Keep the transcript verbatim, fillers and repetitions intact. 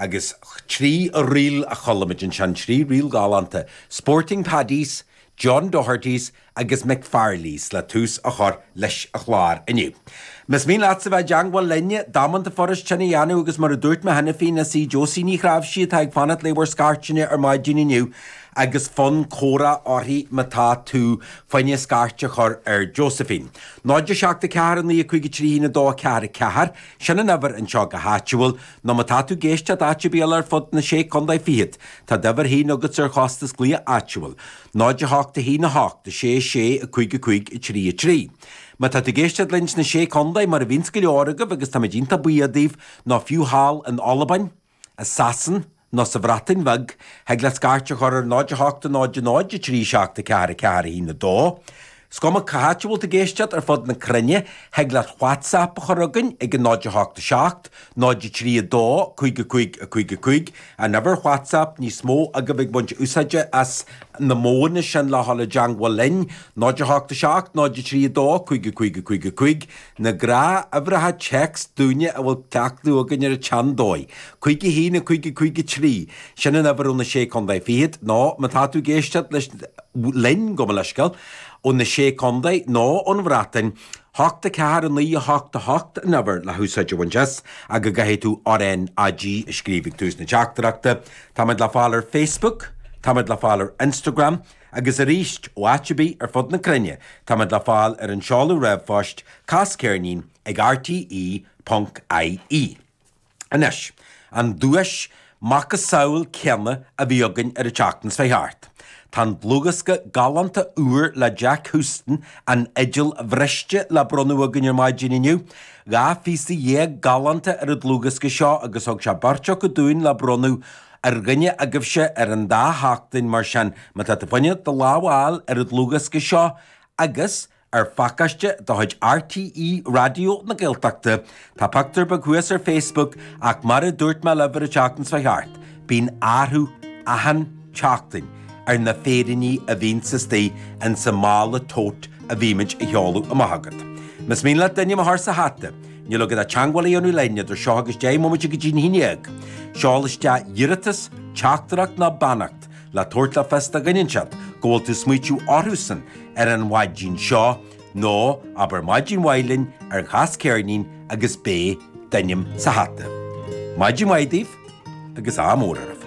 Agus trí ríl a chuala muid ansin, trí ríl galánta, Sporting Paddies, John Doherty's agus McFarley's le tús a chur leis an chlár inniu. Más mian leatsa bheith i dteangmháil linne, damanta furast sin a dhéanamh agus mar a dúirt mé cheana féin is í Josie Ní Chnáimhsí atá ag fanacht le bhur scairteanna ar maidin inniu agus fonn comhrá uirthi má tá tú fá choinne scairt a chur ar Josephine. náid a seacht a ceathair a naoi a cúig a trí haon a dó a ceathair a ceathair, sin an uimhir anseo go háitiúil, nó má tá tú ag éisteacht áit ar bith eile ar fud na sé contae fichead, tá d'uimhir féin agat ar chostas glaoch áitiúil. náid a hocht a haon a hocht a sé sé a cúig a cúig a trí a trí. Má tá tú ag éisteacht linn sna sé contae mar a bhíonns go leor agaibh agus táimid iontach buíoch daoibh nó fiú thall in Albain, i Sasain nó sa Bhreatain Bheag, thig leat scairt a chur ar náid a hocht a náid a náid a trí seacht a ceathair a ceathair a haon a dó. Is cuma cá háit a bhfuil tú ag éisteacht ar fud na cruinne, thig leat WhatsApp a chur chugainn ag an náid a hocht a seacht, náid a trí a dó, cúig a cúig a cúig a cúig, an uimhir WhatsApp níos mó agaibh ag baint úsáide as na modhanna sin le dhul i dteangmháil linn, náid a hocht a seacht, náid a trí a dó, cúig a cúig a cúig a cúig, na gnáthuimhreacha téacs dúinne a bhfuil cleachtadh againn ar an tseandóigh. Cúig a haon a cúig a cúig a trí, sin an uimhir ó na sé contae fichead, nó má tá tú ag éisteacht leis linn, gabh mo leithscéal, ó na sé contae nó ón Bhreatain, hocht a ceathair a naoi a hocht a hocht an uimhir le húsáid a bhaint as agus caithfidh tú R N A G a scríobh ag tús na teachtaireachta. Táimid le fáil ar Facebook, táimid le fáil ar Instagram, agus arís ó áit ar bith ar fud na cruinne, táimid le fáil ar an seoladh ríomhphoist casceirnín ag R T E ponc I E. Anois, an duais macasamhail céanna a bhí againn ar an tseachtain seo thart. Tá an dlúthdhiosca galánta úr le Jack Houston, An Fhidil Bhriste, le bronnadh againn ar maidin inniu. Dhá phíosa dhéag galánta ar an dlúthdhiosca seo agus thug sé beirt acu dúinn le bronnadh ar dhuine agaibhse ar an dá sheachtain. Mar sin, má tá tú fá choinne do lámh a fháil ar an dlúthdhiosca seo agus ar phacáiste de chuid R T E Raidió na Gaeltachta, tá pictiúr beag thuas ar Facebook, ach mar a dúirt mé libh ar an tseachtain seo thart, bíonn athrú achan tseachtain ar na féiríní a bhíonn istigh in sa mála tote a bhímid a sheoladh amach agat. Más mian leat d'ainm a chur sa hata, níl agat ach teagmháil a dhéanamh linn idir seo agus deich mbomaite go dtí a haon déag. Seol isteach iarratas, teachtaireacht nó beannacht le tabhairt le fios do dhuine inteacht go bhfuil tú smaoitiú orthusan ar an mhaidin seo, nó abair maidin mhaith linn ar chas ceirnín agus beidh d'ainm sa hata. Maidin mhaith daoibh agus ádh mór oraibh.